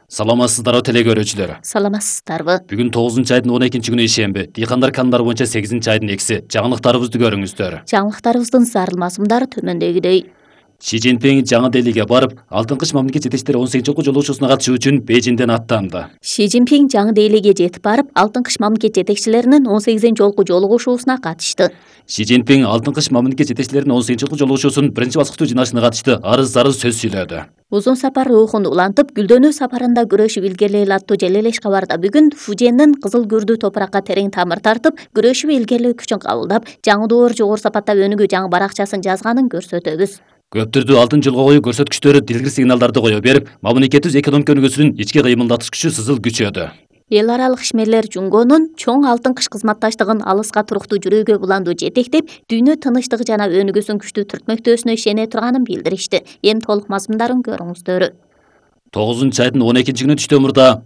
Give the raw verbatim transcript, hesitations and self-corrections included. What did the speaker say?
Саламатсыздарбы теле көрүүчүлөр. Саламатсыздарбы. Бүгүн тогузунчу айдын он экинчи күнү ишемби. Дыйкандар канундары боюнча сегизинчи айдын экиси. Жаңылыктарыбызды көрүңүздөр. Жаңылыктарыбыздын зарыл мазмундары төмөндөгүдөй. Ши Цзиньпин жаңы Делиге барып, Алтын кыш мамлекет жетекчилери он сегизинчи жолку жолугушуусуна катышуу үчүн Бейжиңден аттанды. Ши Цзиньпин жаңы Делиге жетип барып, Алтын кыш мамлекет жетекчилеринин он сегизинчи жолку жолугушуусуна катышты. Ши Цзиньпин Алтын кыш мамлекет жетекчилеринин он сегизинчи жолку жолугушуусунун биринчи баскычтуу жыйналышына катышты. Арыз-зарыз сөз сүйлөдү. Узун сапар рухун улантып, гүлдөнүү сапарында күрөшүп илгерилейли аттуу желелеш кабарда бүгүн Фужендин кызыл күрдүү топуракка терең тамыр тартып, күрөшүп илгерилөө күчүн кабылдап, жаңы доор жогору сапаттап өнүгүү жаңы баракчасын жазганын көрсөтөбүз. Көптөрдү алтын жылга коюу көрсөткүчтөрү дилгир сигналдарды кое берип, мамлекетибиз экономика өнүгүүсүнүн ички кыймылдатыш күчү сызыл күчөдү. Эл аралык ишмерлер жумгонун чоң алтын кыш кызматташтыгын алыска туруктуу жүрүүгө буландуу жетектеп, дүйнө тынычтыгы жана өнүгүүсүн күчтүү түртмөктөөсүнө ишене турганын билдиришти. Эми толук мазмундарын көрүңүздөр. тогузунчу айдын он экинчи күнү түштөн мурда